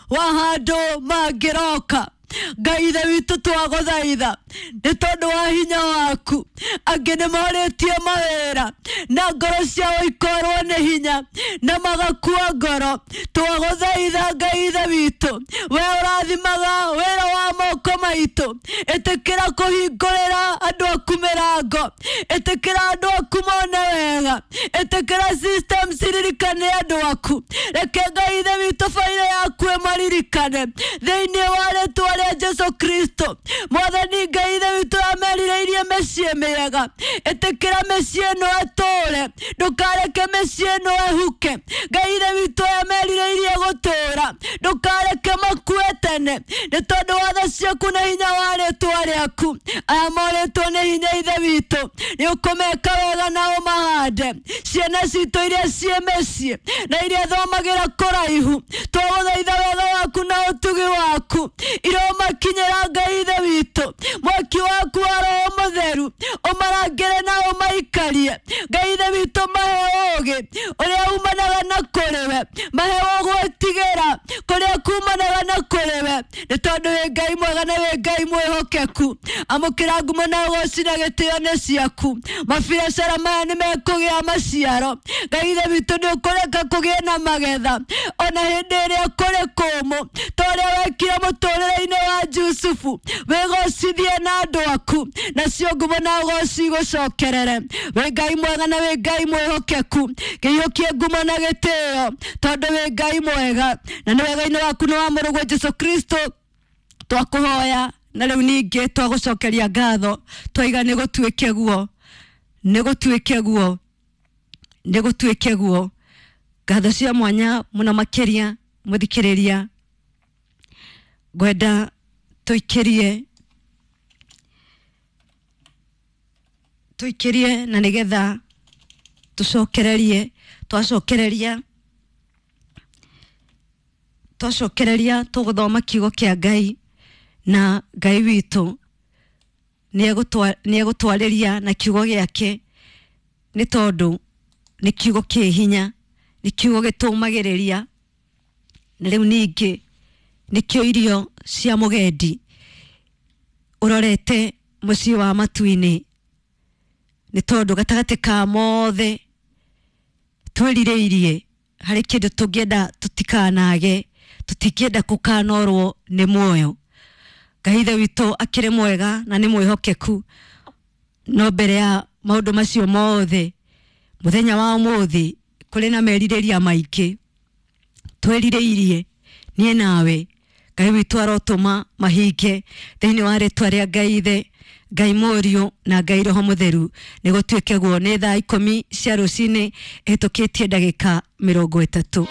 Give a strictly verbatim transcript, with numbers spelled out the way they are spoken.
wa handũ mangĩroka. Ngai ithe witũ twagũthaitha nĩ tondũ wa hinya waku. Angĩ nĩ morĩtie mawĩra na ngoro ciao ikorwo nĩ hinya na magakua ngoro. Twagũthaitha Ngai ithe witũ, we ũrathimaga wĩra wa moko maitũ, ĩtĩkĩra kũhingũrĩra andũ aku mĩrango, ĩtĩkĩra andũ aku mone wega, ĩtĩkĩra systems iririkane andũ aku. Reke Ngai ithe witũ baira yaku ĩmaririkane thĩinĩ wa rĩtwa rĩa Jesu Kristo. Mwathani Ngai ithe witũ amerirĩirie mĩciĩ mĩega, ĩtĩkĩra mĩciĩ ĩno ĩtũũre, ndũkareke mĩciĩ ĩno ĩhuke. Ngai ithe witũ amerirĩirie gũtũũra, ndũkareke makue tene, nĩ tondũ wa tha ciaku na hinya wa rĩtwa rĩaku. Aya morĩtwo nĩ hinya ithe witũ, nĩ ũkũmeka wega na ũmahande. Ciana citũ iria ciĩ mĩciĩ na iria thomagĩra kũraihu, twagũthaitha wega waku na ũtugi waku iromakinyĩra Ngai ithe witũ. Mwaki waku wa Roho Mũtheru ũmarangĩre na ũmaikarie. Ngai ithe witũ mahe ũũgĩ ũrĩa umanaga na kũrĩ we, mahe ũgwĩtigĩra kũrĩa kumanaga na kũrĩ we, nĩ tondũ wĩ Ngai mwega na wĩ Ngai mwĩhokeku. Amũkĩra ngumo na ũgoci na gĩtĩo nĩ ciaku. Mabiacara maya nĩ mekũgĩa maciaro. Ngai ithe witũ nĩ ũkũreka kũgĩe na magetha ona hĩndĩ ĩrĩa kũrĩ kũmũ, ta ũrĩa wekire mũtũrĩre-inĩ wa Jusufu. Wĩgocithie na andũ aku, nacio ngumo na ũgoci igũcokerere. Wĩ Ngai mwega na wĩ Ngai mwĩhokeku, kĩiyũkie ngumo na gĩtĩo, tondũ wĩ Ngai mwega na nĩ wega-inĩ waku nĩ wa mũrũguo Jesu Kristo twakũhoya na rĩu ningĩ twagũcokeria ngatho, twaiga nĩ gũtuĩke guo, nĩ gũtuĩke guo, nĩ gũtuĩke guo. Ngatho cia mwanya mũno makĩria mũthikĩrĩria, ngwenda tũikĩrie tũikĩrie na nĩgetha tũcokererie. Twacokereria twacokereria tũgũthoma kiugo kĩa Ngai, na Ngai witũ nĩ egũtwarĩria na kiugo gĩake, nĩ tondũ nĩ kiugo kĩ hinya, nĩ kiugo gĩtũmagĩrĩria, na rĩu ningĩ nĩkĩo irio cia mũgendi ũrorete mũciĩ wa matu-inĩ, nĩ tondũ gatagatĩ ka mothe twĩrirĩirie harĩ kĩndũ tũngĩenda tũtikanage, tũtingĩenda kũkanorwo nĩ muoyo. Ngai ithe witũ akĩrĩ mwega na nĩ mwĩhokeku, no mbere ya maũndũ macio mothe mũthenya wa ũmũthĩ kũrĩ na merirĩria maingĩ twĩrirĩirie niĩ nawe. Ngai witũ arotũma mahinge thĩinĩ wa rĩtwa rĩa Ngai ithe, Ngai Mũriũ na Ngai Roho Mũtheru. Nĩ gũtuĩke guo. Nĩ thaa ikũmi cia rũcinĩ ĩhĩtũkĩtie ndagĩka mĩrongo ĩtatũ.